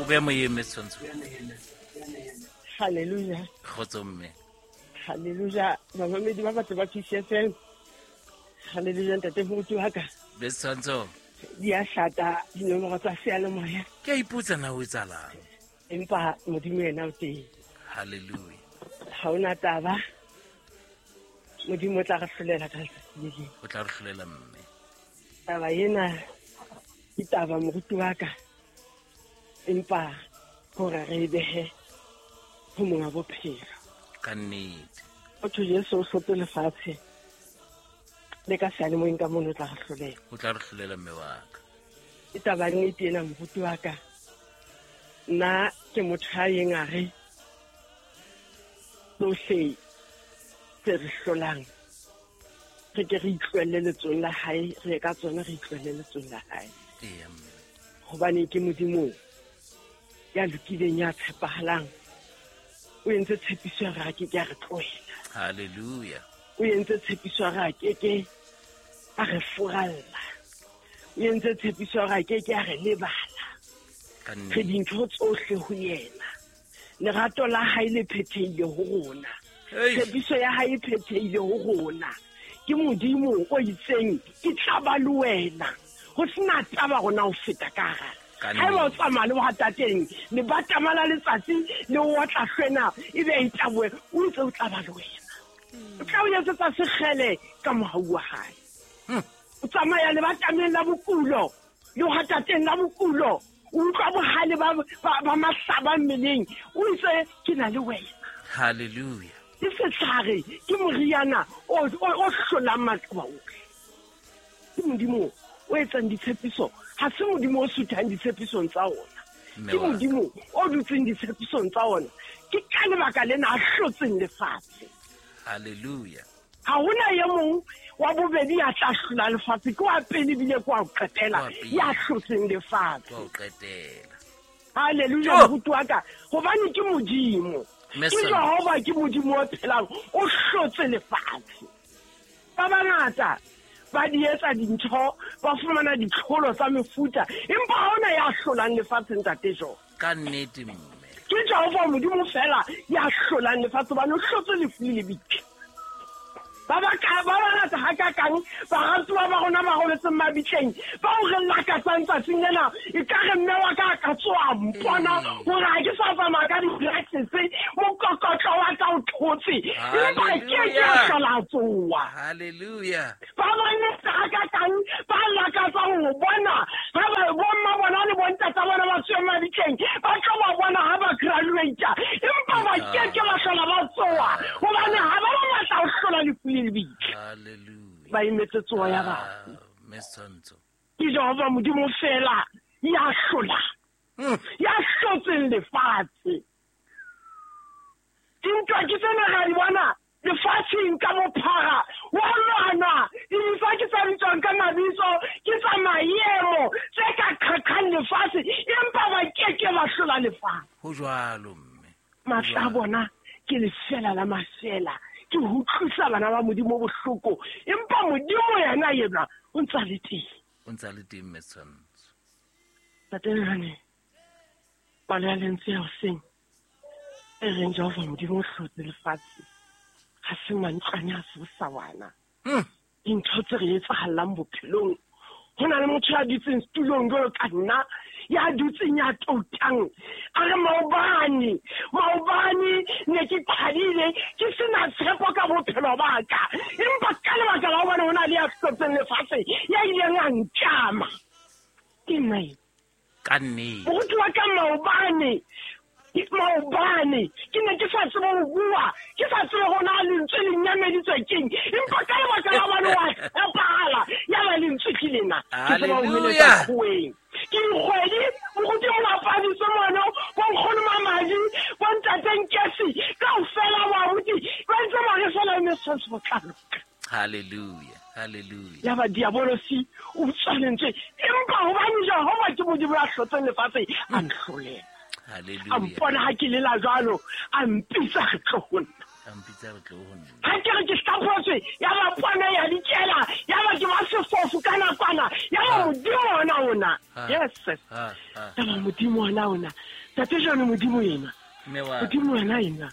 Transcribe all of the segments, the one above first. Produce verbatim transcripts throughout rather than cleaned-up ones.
be moyeng mme Setshwantsho. Hallelujah. Kgotso mme. Hallelujah. Bamamedi ba batho ba P C F M. Hallelujah ntate moruti wa ka. Mme Setshwantsho. Di a hlata dinomoro tsa seyalemoya. Ke a ipotsa na o etsahalang. Empa Modimo yena o teng. Hallelujah. Ha ona taba. Modimo o tla re hlolela ka letsatsi le leng. O tla re hlolela mme. Taba ena ke taba moruti wa ka. Empa hore re e behe ho monga bophelo. Ka nnete. Motho Jesu o hlotse lefatshe. Le ka seyalemoyeng ka mono o tla re hlolela. O tla re hlolela mme wa ka. Ke taba nnete ena moruti wa ka. Nna ke motho a yeng a re tsohle tse re hlolang re ke re itlohelle letsong la hae, re ye ka tsona re itlohelle letsong la hae. Eya mme. Hobane ke Modimo ya lokileng, ya tshepahalang. O entse tshepiso ya re a ke ke a re tlohela. Hallelujah. O entse tshepiso ya re a ke ke a re furalla. O entse tshepiso ya re a ke ke a re lebala. Ka nnete. Re dintho tsohle ho yena. Lerato la hae le phethehile ho rona. Hey. Tshepiso ya hae e phethehile ho rona. Ke Modimo o itseng ke tla ba le wena. Ho sena taba rona ho feta ka hara. Ka Ha eba o nnete. tsamaya le bohatateng, le batama la letsatsi le o tla hlwena ebe e tlaboe, o ntse o tla ba le wena. O tla o etsetsa sekgele ka mohau wa hae. Hmm. O tsamaya le batameng la bokulo, le bohatateng la bokulo, o utlwa bohale ba, ba, ba mahlaba mmeleng, o itse ke na le wena. Hallelujah. Ke setlhare, ke moriana o, o, o hlolang maqeba ohle. Ke Modimo o etsang ditshepiso, ha se Modimo o suthang ditshepisong tsa ona. Mme Ke wa ka. Modimo o dutseng ditshepisong tsa ona. Ke ka lebaka lena a hlotseng lefatshe. Hallelujah. Ha hona e mong wa bobedi ya tla hlola lefatshe, ke wa pele ebile ke wa ho qetela, Wa pele. ya hlotseng lefatshe. Ke wa ho qetela. Hallelujah, Jo. moruti wa ka. Hobane ke Modimo. Mme Ke Sona. Jehova, ke Modimo o phelang, o hlotse lefatshe. Ba bangata ba di etsa dintho, ba fumana ditlholo tsa mefuta, empa ha hona ya hlolang lefatshe ntate Jo. Ka nnete mme. Ke Jehova Modimo fela ya hlolang lefatshe, hobane o hlotse lefu le lebitla. Ba ba ka, ba bangata hakakang, baratuwa ba rona ba robetseng mabitleng, bao re lakatsang tsatsing lena, e ka re mme wa ka a ka tsoha a mpona Mm. hore ha ke sa tsamaya ka di-practice, mokokotlo wa ka o thotse, empa ke ke a Hallelujah. hlola a tsoha. Hallelujah. Ba bangata hakakang ba lakatsang ho bona ha ba bomma bona le bontata bona ba tsoha mabitleng, ba tlo ba bona ha ba graduate, empa ba ke ke ba hlola ba tsoha, hobane ha ba ba matla ho hlola lefu le lebitla. Hallelujah. Ba emetse tsoho ya batho. Ah, Mme Setshwantsho. Ke Jehova Modimo fela ya hlolang, Hmm. ya hlotseng lefatshe. Dintwa ke tsena ra di bona lefatsheng ka bophara, wa lwana, dintwa ke tsa bitswang ka mabitso, ke tsa maemo tse ka qhaqhang lefatshe, empa ba ke ke ba hlola lefatshe. Ho jwalo mme. Matla a bona ke lefela la mafela, ke ho utlwisa bana ba Modimo bohloko, empa Modimo yena yena o ntsa le teng. O ntsa le teng mme Setshwantsho. Ntate Lehane, palo ya lentswe ya hoseng e reng Jehova Modimo o hlotse lefatshe, ha se mantlwane, ha se bosawana. Hmm. Dintho tse re etsahallang bophelong, ho na le motho ya dutseng setulong jwalo ka nna, ya dutseng ya toutang, a re maobane, maobane ne ke qhadile, ke sena tshepo ka bophelo ba ka, empa ka lebaka la hobane ho na le ya hlotseng lefatshe, ya ileng a nkama. Ke nna eo. Ka nnete. Moruti wa ka maobane, maobane ke ne ke sa tsebe ho bua, ke sa tsebe hore na lentswe le nyameditswe keng, empa ka lebaka la hobane wa tshepahala, ya ba lentswe ke lena, ke tseba ho meletsa Hallelujah. kgoweng. Ke dikgwedi, moruti o lapaditse mono, bo nkgono Mamadi, bo ntate Nkesi, kaofela bo abuti, ba ntse ba re fela mme Setshwantsho ho tla loka. Hallelujah. Hallelujah. Ya ba diabolosi o utswa lentswe, empa hobane Jehova ke Modimo ya hlotseng lefatshe, a nhlolela. Hallelujah. A mpona ha ke lela jwalo, a mpitsa re tlo ho nna. A mpitsa re tlo ho nna. Ha ke re ke hlaphotswe, ya ba pona ya dikela, ya ba ke ba sefofu ka nakwana, ya ba Modimo ona ona. Yes. Ya ba Modimo ona ona. Tate John, Modimo yena. Modimo yena yena.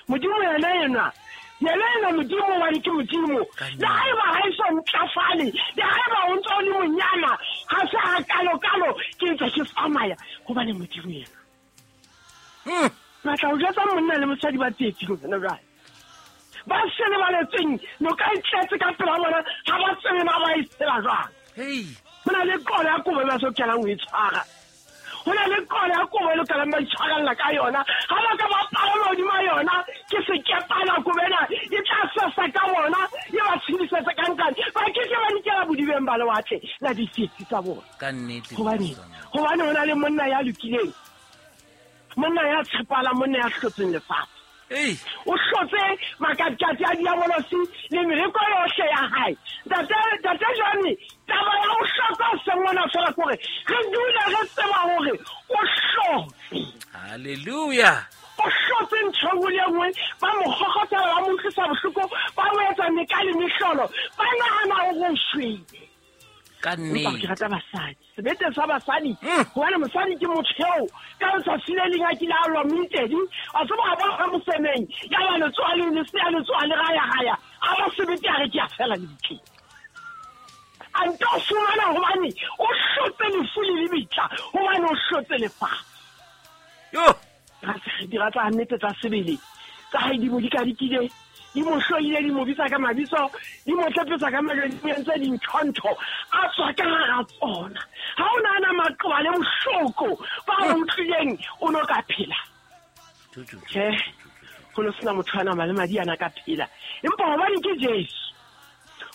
Modimo yena yena. Yena yena Modimo wa ke Modimo. Le haeba ha e so ntlafale, le haeba o ntse o le monyana, ha se ha kalo kalo ke ntse ke tsamaya hobane Modimo yena. Mm. Batla o jwetsa monna le mosadi ba tsietsing hona jwale. Ba se lebaletseng noka e tletse ka pela bona, ha ba tsebe na ba e tshela jwang. Hey. Ho na le qolo ya kobo ba so kenang ho e tshwara. Ho na le qolo ya kobo e lokelang ba itshwarella ka yona. Ha ba ka ba palama hodima yona, ke sekepana kobo ena e tla sesa ka bona, e ba tshedisetse ka nkane. Ba ke ke ba dikela bodibeng ba lewatle la ditsietsi tsa bona. Ka nnete. Hobane hobane ho na le monna ya lokileng, monna ya tshepahalang, monna ya hlotseng lefatshe. Ei. O hlotse makatikati a diabolosi le mereko yohle ya hae. Ntate Ntate John, taba ya ho hloka sengwana fela kore re dule re tseba hore o hlotse. Hallelujah. O hlotse ntho e nngwe le e nngwe, ba mo kgokgothela, ba mo utlwisa bohloko, ba mo etsa meka le mehlolo, ba nahana hore o shwele. Ka Empa ke nnete. rata basadi, sebete sa basadi, Mm. hobane mosadi ke motho eo ka letsatsi le leng a kile a lwa moitedi, a tseba a bona mosemeng, ya ba letsoha le lesea letsoha le raya-raya, a ba sebete a re ke a fela lebitleng. A nto fumana hobane o hlotse lefu le lebitla, hobane o hlotse lefatshe. Yo. Dira tsa nnete tsa sebele tsa hae di mo dikadikile, di mo hloile, di mo bitsa ka mabitso, di mo tlepetsa ka majwe, di mo entse dintho-ntho, a tswa ka hara tsona. Ha o nahana maqeba le bohloko ba o utlwileng, o no ka phela. Tjhe, ho no sena motho a nama le madi a na ka phela. Empa hobane ke Jesu,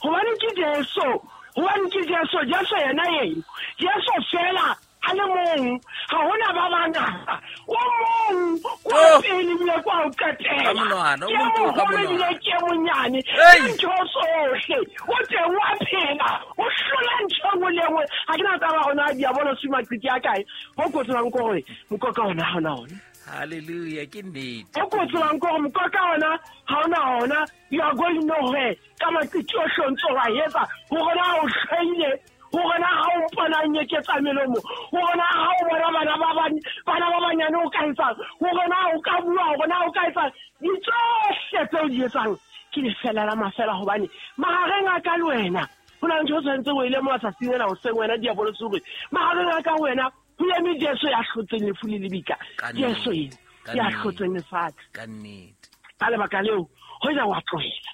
hobane ke Jesu, hobane ke Jesu, Jesu yena eno, Jesu fela a le mong, ha hona ba bangata. O mong kwa Oh. pele ebile kwa ho qetela. Ka monwana, o Ke mong ke o ka moholo ebile monwana. ke monyane. Hey. Ke ntho tsohle. O teng wa phela, o hlola ntho e nngwe le e nngwe. Ha ke na taba hore na diabolosi maqiti a kae. Ho ko tsebang ke hore mokoka ona ha ona ona. Hallelujah, ke nnete. Ho ko tsebang ke hore mokoka ona ha ona ona. You are going nowhere. Ka maqiti ohle o ntso wa etsa, hore na o hlahile, hore na ha o mpona nyeketsa melomo, hore na ha o bona bana ba bang, bana ba banyane o ka etsang, hore na o ka bua, hore na o ka etsang, ditsohle tseo di etsang ke lefela la mafela. Hobane mahareng a ka le wena ho na le ntho o tshwanetseng o e lemoha tsatsing lena hoseng, wena diabolosi, hore mahareng a ka wena ho eme Jesu ya hlotseng lefu le lebitla. Ka Jesu nnete, ena ka ya nnete, hlotseng lefatshe. Ka nnete. Ka lebaka leo, hoja wa tlohela,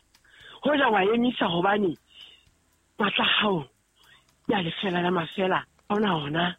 hoja wa emisa, hobane matla a hao ya lefela la mafela ha ona ona.